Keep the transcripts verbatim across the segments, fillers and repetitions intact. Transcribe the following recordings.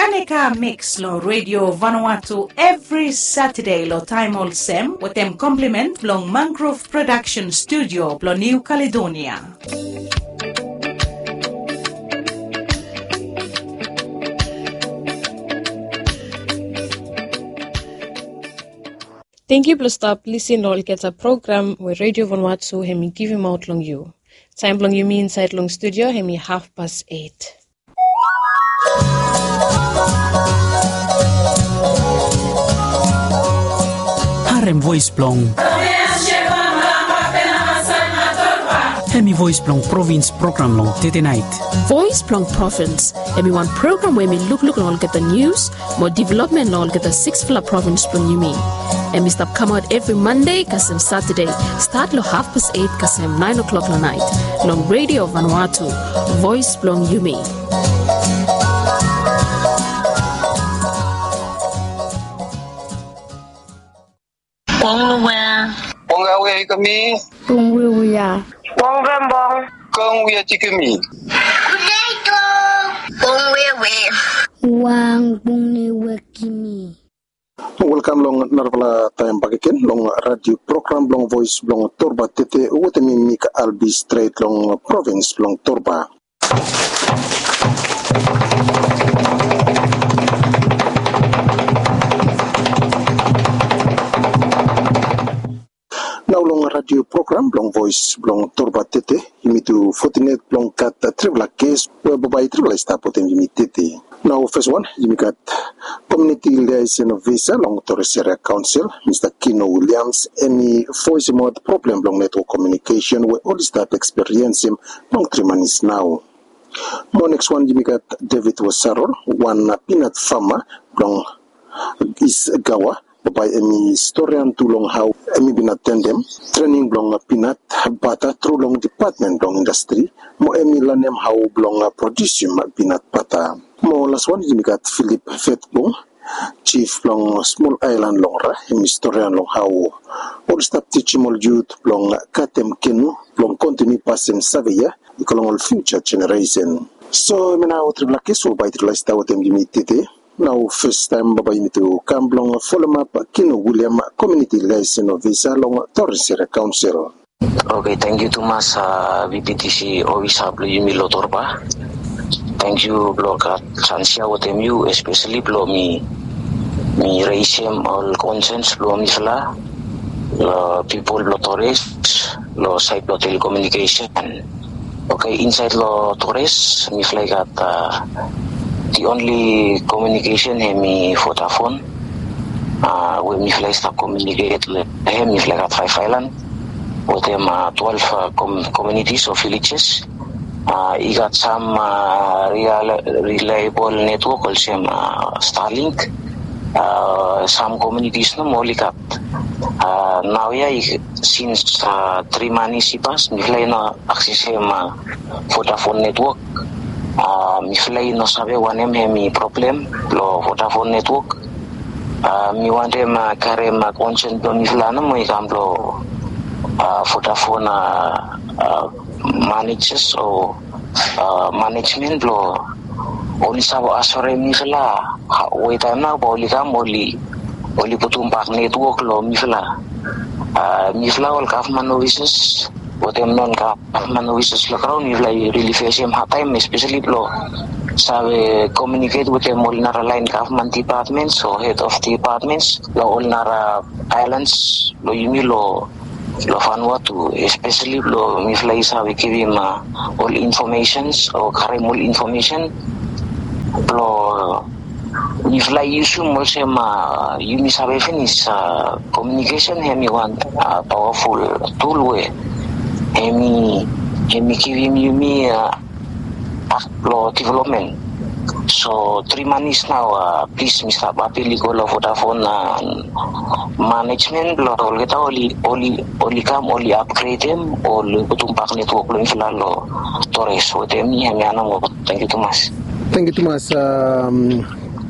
Aneka Mix lo Radio Vanuatu evri Satade lo taem olsem wetem komplimen blong Mangrove Production Studio blo New Caledonia. Tangkiu blo stap lisin lo olgeta program we Radio Vanuatu hem i givimaot long yu. Taem blong yumi insaed long studio hem i hafpas et. Harem voes blong. Hem i voes blong provins program long tete naet. Voes blong provins hem i wan program we hem i lukluk long olgeta nius mo developmen long olgeta siksfala provins blong yumi. Hem i stap kamaot evri Mande kasem Satade, stat long hafpas et kasem naen oklok long naet, long Radio Vanuatu, voes blong yumi. Bong Luwea. Bong Awea Ikami. Bong Wiwia. Bong Bembong. Bong Wia Tikimi. Bong Wewe. Wang Bong Ni Wekimi. Welkam long narafala taem bakegen long radio program blong Voes blong Torba Tete wetem mi Mik Albi stret long provins blong Torba. Nao long radio program blong Voes blong Torba Tete yumi tu fotinet blong gat trifala ges we bambae trifala i stap wetem yumi tete. Nao fes wan yumi gat komuniti liaesen ofisa long Torres Area Kaonsel, Mista Kino Williams, hem i voesemaot problem blong netwok komiunikesen we oli stap ekspiriensem long tri manis nao. Mo neks wan yumi gat David Wasarol, wan pinat fama blong Is Gawa, bambae hem i storian tu long hao hem i bin atendem trening blong pinat bata tru long dipatmen blong indastri, mo hem i lanem hao blong produsim pinat bata. Mo las wan yumi gat Philip Fetbung, jif blong smol aelan long Ra, hem i storian long hao oli stap tijim ol yut blong katem kenu blong kontiniu pasem save ya i go long ol fiuja jeneresen. So hemia nao trifala ges we bambae trifala i stap wetem yumi tete. Nao fes taem bambae yumi tu kam blong folem ap Kino William, komuniti liaesen ofisa long Torres Area Kaonsel. Oke, tangkiu tumas, a, VPTC ofisa blong yumi lo Torba. Tangkiu blo gat sans ya wetem yu, espeseli blo mi, mi resem ol konsens blo mifala, lo pipol blo Torres, lo saed blo telekomiunikesen. Oke, insaed lo Torres mifala i gat, a, the only communication hem i Vodafone, a, we mifala i stap komiuniket lo hem. Mifala i gat faef aelan wetem, a, twelve, a, komunitis o vilejes. A, i gat sam, a, reliable netwok olsem, a, Starlink. A, sam komunitis nomo oli gat. A, naoia i sins, a, tri manis i pas mifala i no aksesem, a, Vodafone netwok. A, mifala i no save wanem hem i problem blo Vodafone netwok. A, mi wantem, a, karem, a, konsen blo mifala nomo i kam blo, a, Vodafone, a, a, manejes o, a, manejmen blo oli save asorem mifala we taem nao bae oli kam oli, oli putum bak netwok lo mifala. A, mifala ol gavman ofises wetem non gavman ofises lo graon mifala i rili fesem hadtaem, espeseli blo save komiuniket wetem ol nara laen gavman dipatmens o hed of dipatmens lo ol nara aelans blo yumi lo, lo Vanuatu, espeseli blo mifala i save givim, a, ol infomesens o karem ol infomesen blo mifala i yusum olsem, a, yumi save finis, a, komiunikesen hem i wan, a, pawaful tul we hem i, hem i givim yumi, a, blo developmen. So tri manis nao, a, plis mi stap apil i go lo Vodafone, a, manejmen blo olgeta oli, oli, oli kam oli apgredem, oli putum bak netwok blo mifala lo Torres wetem mi, hemia nomo. Tangkiu tumas. Tangkiu tumas, a,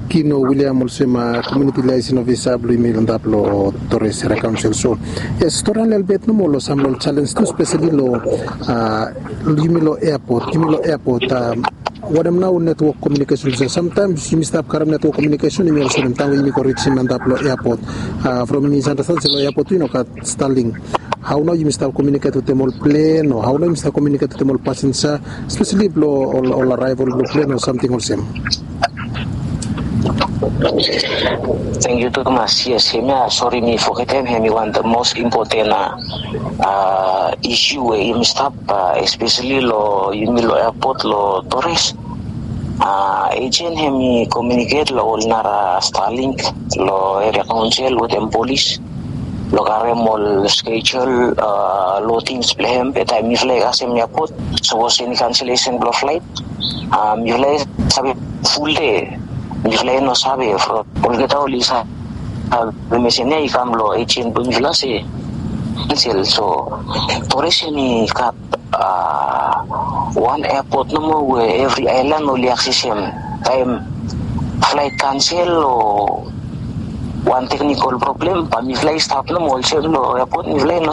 Kino William olsem, a, komuniti liaesen ofisa blo yumi lo antap lo Torres Area Kaonsel. So yes, storian lelebet nomo lo sam lo ol jalens tu, espeseli lo, a, yumi lo eapot, yumi lo eapot, a, Wanem nao netwok komiunikesen olsem? Samtaem yumi stap karem netwok komiunikesen, yumi olsem taem we yumi go rijim antap long eapot. From mi misandastandim se long eapot tu i no gat Starlink. Hao nao yumi stap komiuniket wetem ol plen o hao nao yumi stap komiuniket wetem ol pasenja, espeseli blong ol araeval blong plen o samting olsem? Tangkiu tumas. Yes, hemia sori mi fogetem, hemi wan of the most important isu we yumi stap, espeseli long yumi long eapot long Torres. Ejen hemi komiuniket long ol nara Starlink long eria kaonsel wetem polis long karem ol skejul lodings blong hem. Be taem mifala i kasem eapot, sapos eni kanselesen blong flaet, mifala i save ful de. Mifala i no save from olgeta oli save mesen ya i kam long ejen blong mifala se kansel. So Torres hemi gat wan eapot nomo we evri aelan oli aksesem. Taem flaet kansel o wan teknikol problem, bae mifala i stap nomo olsem long eapot, mifala i no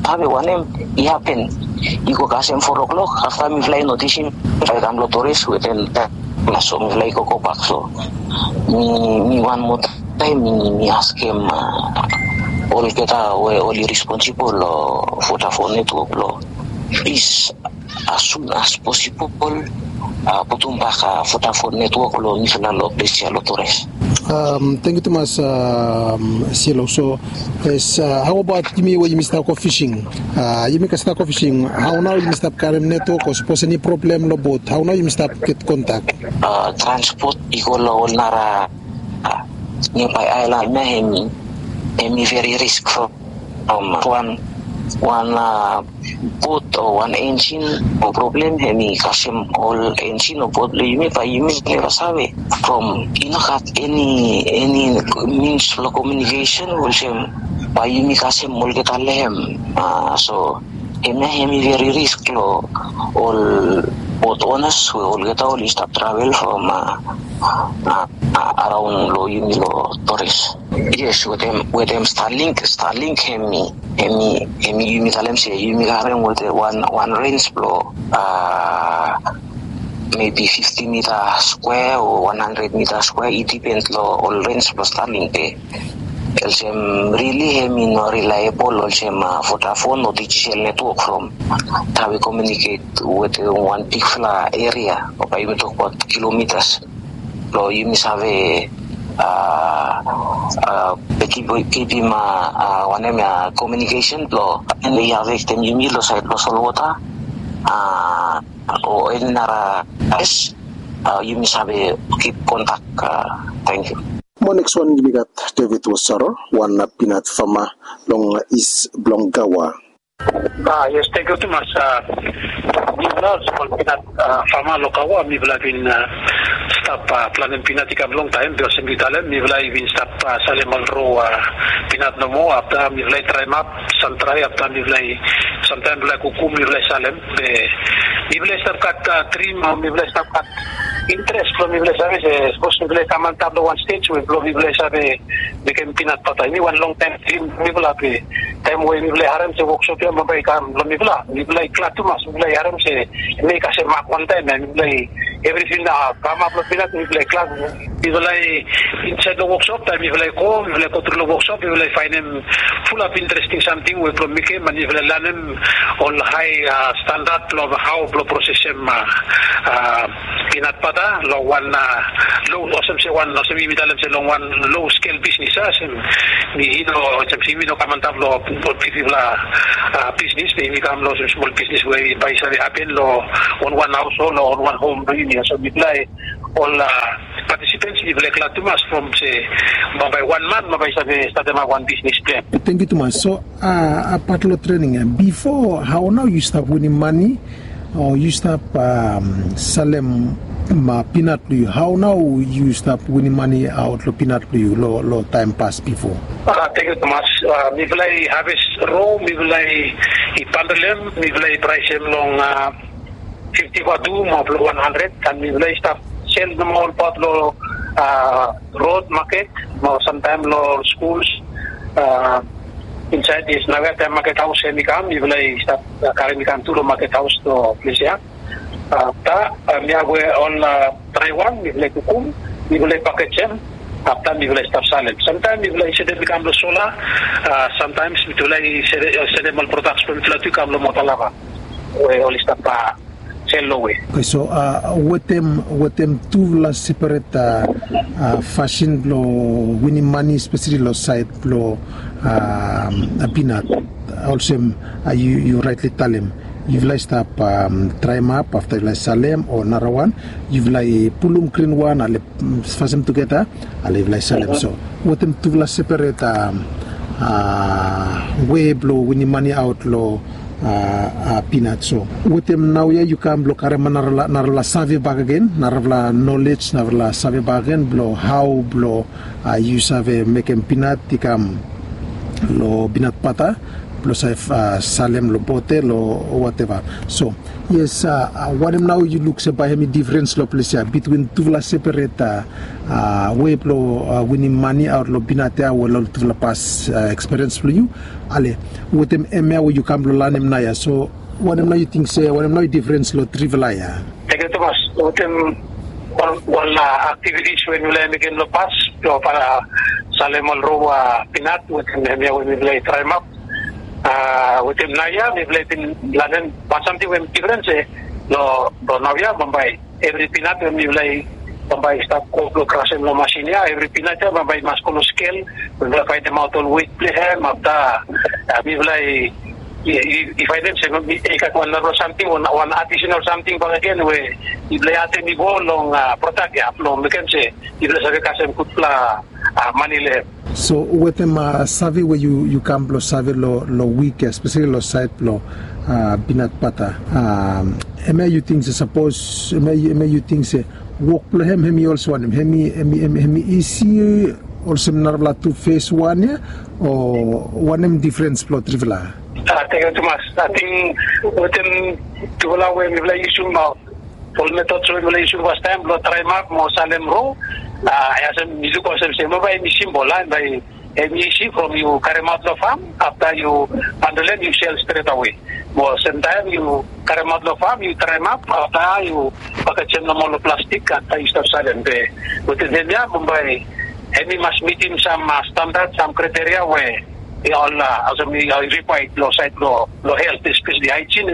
save wanem i hapen. I go kasem fo klok, afta mifala i notisim bae i kam long Torres wetem taem. So mifala i go gobak. So mi wan moa taem mi askem olgeta we oli responsibol long Vodafone netwok blong plis, as soon as possible, putum bak Vodafone netwok long mifala long ples ya long Torres. Tangkiu tumas. Silo, so yes, hao abaot yumi we yumi stap go fising? Yumi stap go fising, hao nao yumi stap karem netwok o sapos eni problem long bot, hao nao yumi stap get kontak? Transpot i go long ol nara niabae aelan ya, hemi veri risk from wan wan bot o wan enjin o problem, hemi kasem ol enjin o bot blong yumi, bae yumi neva save from i no gat eni eni mins blong komiunikesen olsem bae yumi kasem olgeta long hem. So hemia hemi veri risk long ol bot onas we olgeta oli stap travel from araon long yumi long Torres. Yes, wetem Starlink, Starlink hemi hemi hemi yumi talem se yumi karem wetem wan wan rens blong maybe fifty mita skwea o wan handred mita skwea, i dipen long ol rens blong Starlink. Be olsem rili hemi no rilaebol olsem Vodafone o Digicel netwok from taem we komiuniket wetem wan bigfala eria o bae yumi tokbaot kilomitas blong yumi save kipim wanem ya komiunikesen blong eni i afektem yumi long saed blong solwota o eni nara ples, yumi save kip kontak. Tangkiu. Mo neks wan yumi gat David Wasaro, wan pinat fama long is blong Gawa. Yes, tangkiu tumas. Mifala ol pinat fama long Gawa, mifala bin stap planem pinat i kam longtaem, be olsem yu talem mifala i bin stap salem ol ro pinat nomo, afta mifala i traem ap, sam trae, afta mifala i samtaem mifala i kukum, mifala i salem. Be mifala i stap gat drim o mifala i stap gat interes blong mifala i save se sapos mifala i kam antap long wan stej we blong mifala i save mekem pinat bata, hemi wan longtaem drim blong mifala. Be taem we mifala i harem se woksop ya bambae i kam long mifala, mifala i glad tumas. Mifala i harem se hemi i kasem mak wantaem ya, mifala i evriting nao kamap long pinat, mifala i glad. Mifala i insaed long woksop, taem mifala i go, mifala i gotru long woksop, mifala i faenem fulap interesting samting we blong mekem, mifala i lanem ol hae standad blong hao blong prosesem pinat bata long wan lo, olsem se wan, olsem yumi talem se long wan lo skel bisnis, a, olsem mi no, olsem se yumi no kam antap long bigfala bisnis, be yumi kam long olsem smol bisnis we bae i save hapen long wan wan haos o long wan wan hom blong yumi. So mifala i ol patisipens, mifala i glad tumas from se bambae wan man bambae i save statemap wan bisnis blong hem. Tangkiu tumas. So abaot long trening ya, bifo hao nao yu stap winim mane o yu stap salem pinat blong yu? Hao nao yu stap winim mane aot long pinat blong yu long taem pas bifo? Tangkiu tumas. Mifala i haves ro, mifala i bandel hem, mifala i praesem long fifti vatu mo blong wan handred, an mifala i stap sel nomo olbaot long rod maket mo samtaem long skuls insaed. Yes, naoia taem maket haos hemi kam, mifala i stap karem i kam tu long maket haos long ples ya. Afta mifala we ol drai wan mifala i kukum, mifala i pakejem, afta mifala i stap salem. Samtaem mifala i setem i kam long sola, samtaem mifala i setem ol prodaks blong mifala tu i kam long mota lava we oli stap sel long we. Oke, so wetem wetem tufala seperet fasin blong winim mane spesali long saed blong pinat, olsem yu raetli talem, yufala i stap draemap afta yufala i salem, o narawan yufala i pulum grinwan ale fasem tugeta, ale yufala i salem. So wetem tufala seperet we blong winim mane aot long pinat. So wetem naoia yu kam blong karem narafala save bakegen, narafala nolej, narafala save bakegen blong hao blong yu save mekem pinat i kam long pinat bata blong save salem long botel o wateva. So yes, wanem nao yu luk se bae hemi difrens long ples ya bitwin tufala seperet we blong winim mane aot long pinat ya we long tufala pas ekspiriens blong yu? Ale wetem hemia we yu kam blong lanem naoia, so wanem nao yu ting se wanem nao i difrens long trifala ya? Tengiu tumas. Wetem ol aktivitis we mifala i mekem long pas blong salem ol ro pinat wetem hemia we mifala i draemap, wetem naoia mifala i bin lanem wan samting we hem difrens se long naoia bambae evri pinat we mifala i bambae i stap go blong krasem long masin ya, evri pinat ya bambae i mas go long skel we mifala i faenemaot ol wet blong hem. Afta mifala i faenem se i gat wan narafala samting, wan adisenal samting bakegen we mifala i atem i go long prodak ya blong mekem se mifala i save kasem gudfala mane long hem. So wetem save we yu kam blong save long wik ya spesali long saed blong pinat bata, hemia yu ting se sapos hemia yu ting se wok blong hem hemi olsem wanem? Hemi isi olsem narafala tu fes wan ya, o wanem difrens blong trifala? Tengiu tumas. Ating wetem tufala we mifala i yusum ol metod we mifala i yusum fastaem blong draemap mo salem ro, olsem yu luk olsem se bambae hemi simbol a, bambae hemi isi from yu karemaot long fam, afta yu handolem yu sel stretawe. Mo semtaem yu karemaot long fam yu draemap afta yu pakejem nomo long plastik afta yu stap salem. Be wetem hemia bambae hemi mas mitim sam standat, sam kriteria we ol olsem i rikwaed long saed blong helt, espesali haejin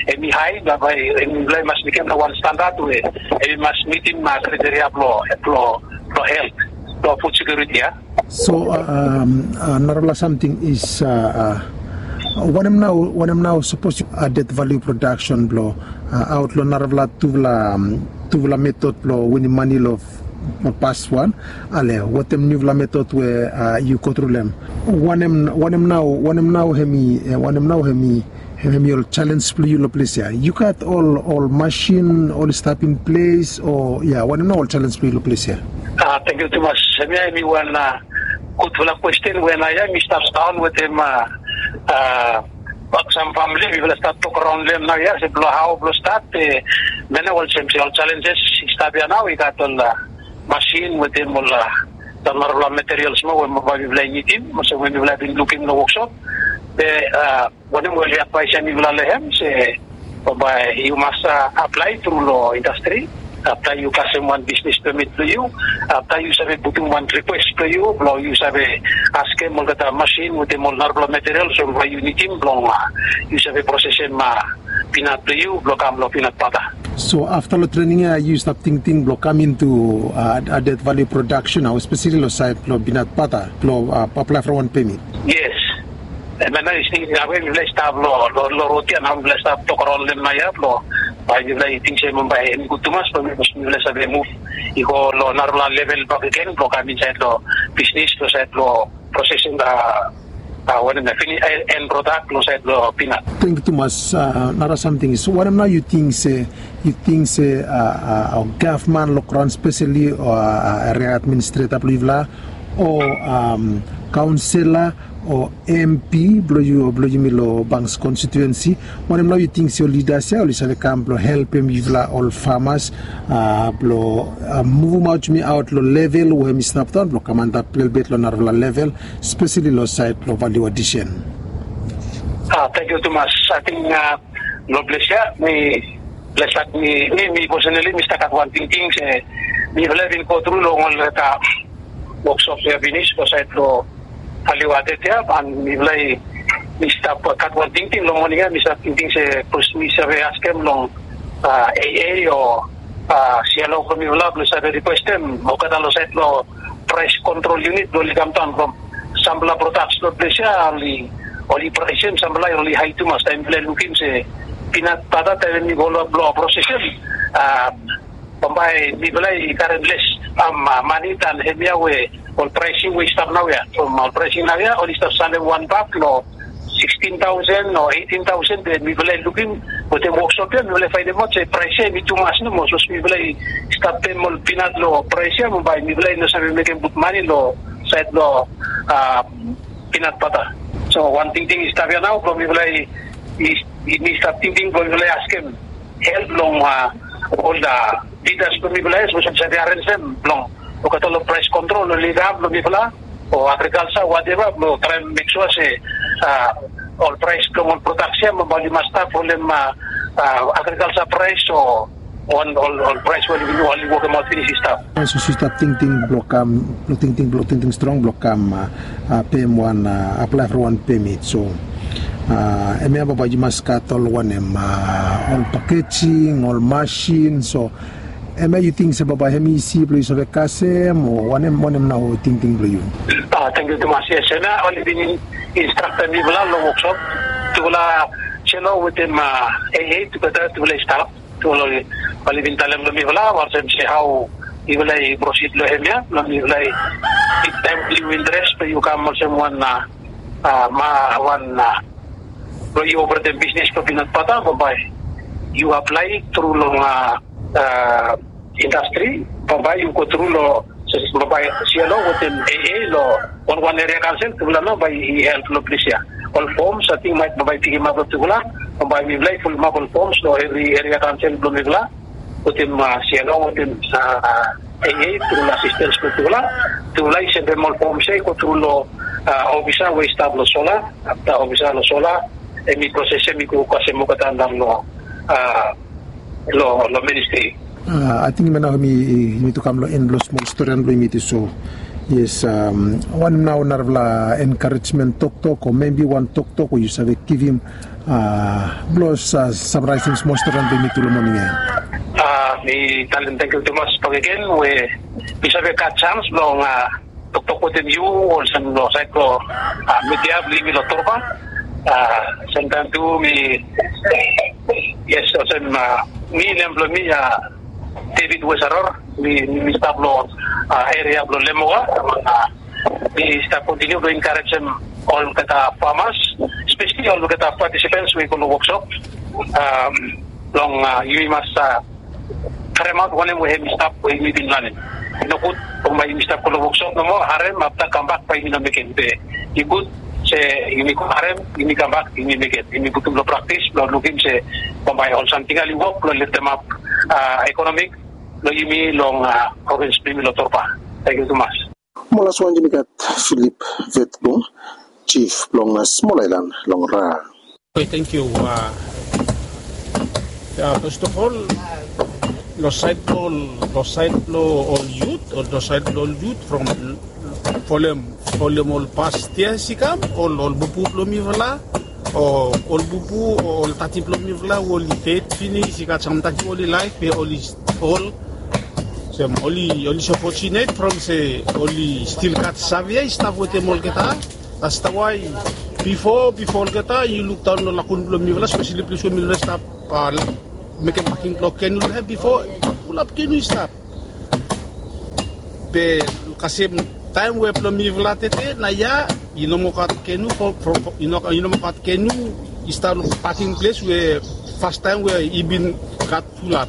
hemi hae, bambae hemi mas mekem long wan standat we hemi mas mitim kriteria blong helt, blong fud sekiuriti ya. So narafala samting is wanem nao, wanem nao sapos yu adet valiu prodaksen blong aot long narafala tufala tufala metod blong winim mane long pas wan, ale wetem niufala metod we yu gotru long hem, wanem nao, wanem nao hemi, wanem nao hemi hemi ol jalens blong yu long ples ya? Yu gat ol ol masin oli stap in ples o ya, wanem nao ol jalens blong yu long ples ya? Tengiu tumas. Hemia hemi wan gudfala kwesten we naoia mi stap daon wetem sam famili mifala stap tok raon long hem naoia se blong hao blong stat be mane olsem se ol jalenjes i stap ya nao i gat ol masin wetem ol narafala materials moa we bambae mifala i nidim olsem we mifala i bin lukim long woksop. Be wanem we oli advaesem mifala long hem se bambae yu mas aplae tru long indastri afta yu kasem wan bisnis pemit blong yu, afta yu save putum wan rikwes blong yu blong yu save askem olgeta masin wetem ol narafala materials we bambae yu nidim blong yu save prosesem pinat blong yu blong kam long pinat bata. So afta long trening ya yu stap tingting blong kam intu adet valiu prodaksen nao espesali long saed blong pinat bata blong aplae from wan pemit? Yes. Hemia nao i sting ya we mifala i stap long rod ya nao mifala i stap tok raon long hem naoia blong bae mifala i ting se bambae hemi gud tumas blong mifala i save muv i go long narafala level bakegen blong kam insaed long bisnis long saed blong prosesing wanem ya fini en prodak long saed blong pinat. Tengiu tumas. Nara samting is wanem nao yu ting se yu ting se gavman long graon spesali o eria administreta blong yufala o kaonsela o MP blong yu o blong yumi long Banks konstituensi, wanem nao yu ting se ol lidas ya oli save kam blong helpem yufala ol famas blong muvumaot yumi aot long level we hemi stap daon blong kam antap lelebet long narafala level spesali long saed blong valiu adisen? Tengiu tumas. Ating long ples ya mi Blesat mi mi mi personali mi stap gat wan tingting se mifala i bin go tru long olgeta woksop ya pinis long sait long Paliwatete ya, an mifala i mi stap gat wan tingting long moning ya, mi stap tingting se bikos mi save askem long AA o sialo blong mifala blong save rikwestem olgeta long sait long prais kontrol unit blong oli kamdaon from sampela prodaks long ples ya oli oli praisem sampela oli hai tumas taim mifala i lukim se pinat bata taim mi go long blong prosesem. Bambae mifala i karim les mani tan hemia we ol praising we i stap naoia from ol praising naoia oli stap salem wan bak long sixteen thousand o eighteen thousand be mifala i lukim wetem woksop ya mifala i fainemaot se prais ya em i tumas nomo sapos mifala i stap pem ol pinat long prais ya bambae mifala i no save mekem gud mani long sait long pinat bata. So wan tingting i stap ya nao blong mifala i mi stap tingting blong mifala i askem help long ol lidas blong mifala ya sapos oli save arenjem blong olgeta long prais kontrol oli kam blong mifala o agrikalsa wateva blong traem mek sua se ol prais blong ol prodaks ya bambae oli mas stap folem agrikalsa prais o ol prais we oli wokemaot finis i stap. Sapos yu stap tingting blong kam tingting blong tingting strong blong kam pem wan aplae from wan pemit so hemia bambae yu mas gat ol wanem ol pakejing ol masin so hemia yu ting se bambae hem isi blong yu save kasem o wanem wanem nao tingting blong yu? Tangkiu tumas. Yes, hemia oli bin instraktem mifala long woksop tufala selo wetem AA tugeta tufala i stap tufala oli bin talem long mifala olsem se hao mifala i prosid long hemia long mifala i taim yu interes blong yu kam olsem wan ma wan blong yu operetem bisnis blong pinat bata bambae yu aplai tru long indastri bambae yu go tru long bambae sialo wetem AA long wanwan eria kansel tufala nao bae i help long ples ya. Ol foms ating maet bambae i pikimap long tufala bambae mifala i fulumap ol foms long evri eria kansel blong mifala wetem sialo wetem AA tru long asistens blong tufala. Tufala i sendem ol foms ya i go tru long ofisa we i stap long sola afta ofisa long sola em i prosesem i go kasem olgeta nao long long ministri. Ating hemia nao mi tu kam long en blong smol storian blong yumi tu so yes wanem nao narafala enkarejmen toktok o mebi wan toktok we yu save givim blong samaraisem smol storian blong yumi tu long moning ya. Mi talem tangkiu tumas bakegen we mi save gat sans blong toktok wetem yu olsem long sait long midia blong yumi long Torba. Semtaim tu mi yes olsem mi nem blong mi David Wesaror mi mi stap long eria blong Lemoga. Mi stap kontiniu blong enkarejem olgeta famas espeseli olgeta patisipens we i go long woksop long yumi mas karemaot wanem we hem i stap we yumi bin lanem. I nogud bambae yumi stap go long woksop nomo harem afta kambak bae yumi no mekem be i gud se yumi go harem yumi kambak yumi mekem yumi putum long praktis blong lukim se bambae ol samting ya oli wok blong leftemap ekonomik blong yumi long provins blong yumi long Torba. Tangkiu tumas. Mo las wan yumi gat Filip Vetbung, jif blong smol aelan long Ra. Oke, tangkiu. Ya fast of ol long sait blong ol long sait blong ol yut o long sait blong ol yut from folem folem ol past yia i kam ol ol bubu blong mifala o ol bubu o ol tati blong mifala we oli ded finis i gat samtaim oli laef be oli ol sem oli oli so fortunate from se oli stil gat save ya i stap wetem olgeta. That's the why bifo bifo olgeta yu lukdaon long lakun blong mifala speseli ples we mifala i stap mekem paking blong kenu long hem bifo fulap kenu i stap. Be kasem taem we blong mifala tete na ya i no moa gat kenu from i no moa gat kenu i stap long paking ples we fastaem we i bin gat fulap.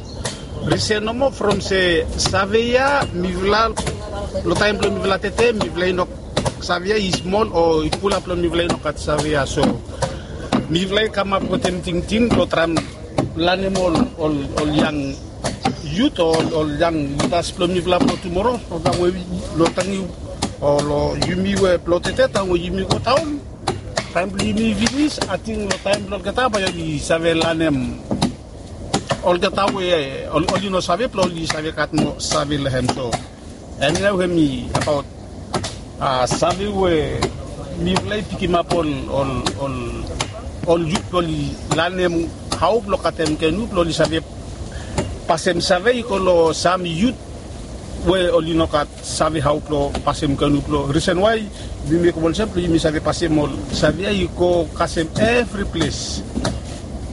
Risen nomo from se save ya mifala long taem blong mifala tete mifala i no save ya i smol o i fulap long mifala i no gat save ya so mifala i kamap wetem tingting blong traem lanem ol ol ol yang yut o ol yang lidas blong mifala blong tumoro. From taem we long taem o long yumi we blong tete taem we yumi go daon taem blong yumi finis ating long taem blong olgeta bae oli save lanem Olgeta we oli no save blong oli save gat moa save long hem. So hemia we hemi abaot save we mifala i pikimap ol ol ol yut blong oli lanem hao blong katem kenu blong oli save pasem save i go long sam yut we oli no gat save hao blong pasem kenu blong risen wae yumi mekem olsem blong yumi save pasem ol save ya i go kasem evri ples.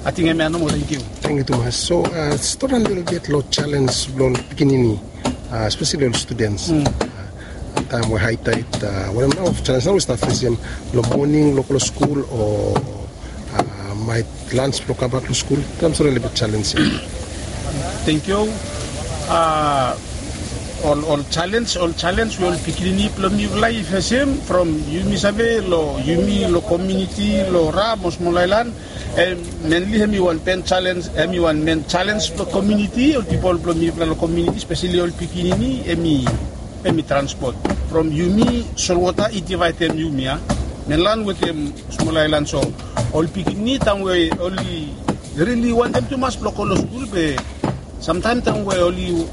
Ating hemia nomo. Tangkiu. Tangkiu tumas. So stori ande olgeta long jalens blong ol pikinini, espeseli ol studens, taem we haitaet, wanem nao of jalens nao we stap fesem long moning long go long skul o maet lans blong kambak long skul? Taem sori olgeta jalens ya. Tangkiu. Ol ol jalens ol jalens we ol pikinini blong mifala i fesem from yumi save long yumi long kominiti long ram o smol aelan, menli hemi wan ben jalens hemi wan men jalens blong kominiti ol pipol blong mifala long kominiti speseli ol pikinini hemi hemi transpot from yumi solwota i divaedem yumi ya, menlan wetem smol aelan. So ol pikinini taem we oli rili wantem tumas blong go long skul be samtaem taem we oli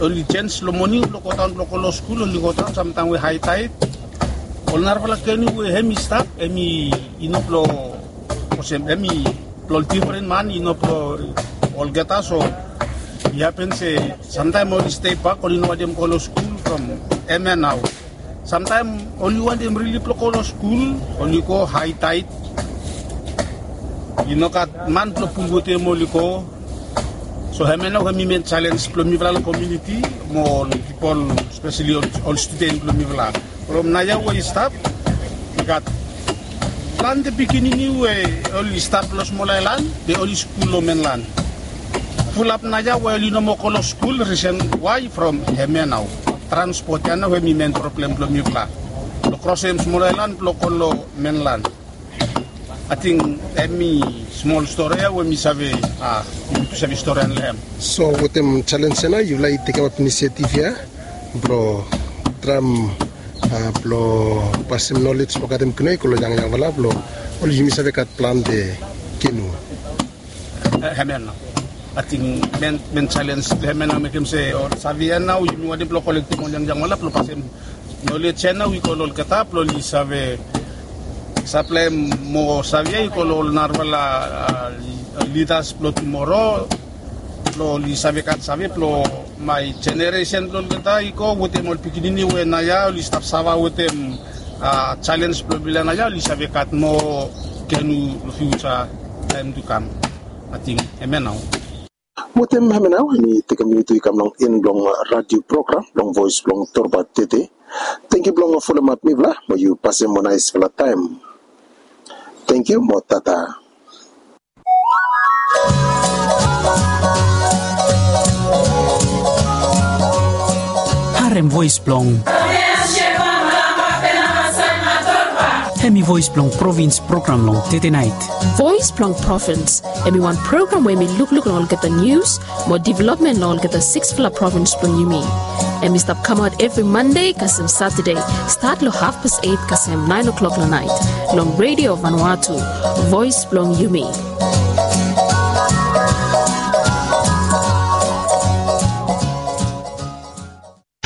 oli jens long moning blong godaon blong go long skul oli godaon samtaem we haitaet ol narafala kenu we hemi stap hemi i no blong olsem hemi blong ol difren man i no blong olgeta. So i hapen se samtaem oli stei bak oli no wantem go long skul from hemia nao. Samtaem oli wantem rili blong go long skul oli go haitaet i no gat man blong pul wetem oli go. So hemia nao hemi men jalens blong mifala long kominiti mo ol pipol speseli ol studen blong mifala. From naoia we i stap i gat plante pikinini we oli stap long smol aelan be oli skul long menlan. Fulap naoia we oli no moa go long skul risen wae from hemia nao transpot ya nao hemi men problem blong mifala blong krosem smol aelan blong go long menlan. Ating hemi smol stori ya we mi save a yumi tu save stori ya long hem. So wetem jalens ya nao yufala i tekemap inisiativ ya blong traem blong pasem nolej blong gatem kinu ya i go long yangyangfala blong oli yumi save gat plante kinu. Hemia nao ating men jalens blong hemia nao mekem se ol save ya nao yumi wantem blong kolektem ol yangyangfala blong pasem nolej ya nao i go long olgeta blong oli save saplaem moa save ya i go long ol narafala lidas blong tumoro blong oli save gat save blong mae jeneresen blong olgeta i go wetem ol pikinini we naoia oli stap sava wetem jalens blong mifala naoia oli save gat moa kenu long fiuja taem tu kam. Ating hemia nao. Wetem hemia nao mi tekem yumi tu i kam long en blong radio program blong voes blong torba tete. Tangkiu blong folomap mifala mo yu pasem wan naesfala taem. Tangkiu mo tata. Harem voes blong hemi voes blong provins program long tete naet. Voes blong provins hemi wan program we hemi lukluk long olgeta nius mo developmen long olgeta siksfala provins blong yumi. Hemi stap kamaot evri mande kasem satade stat long hafpas et kasem naen oklok long naet long redio vanua tu. Voes blong yumi.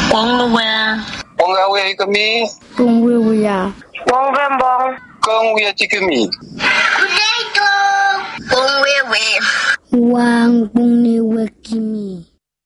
Bong wewe. Bong wewe tikimi. Bong wewe. Bong wewe. Wang bong wewe tikimi.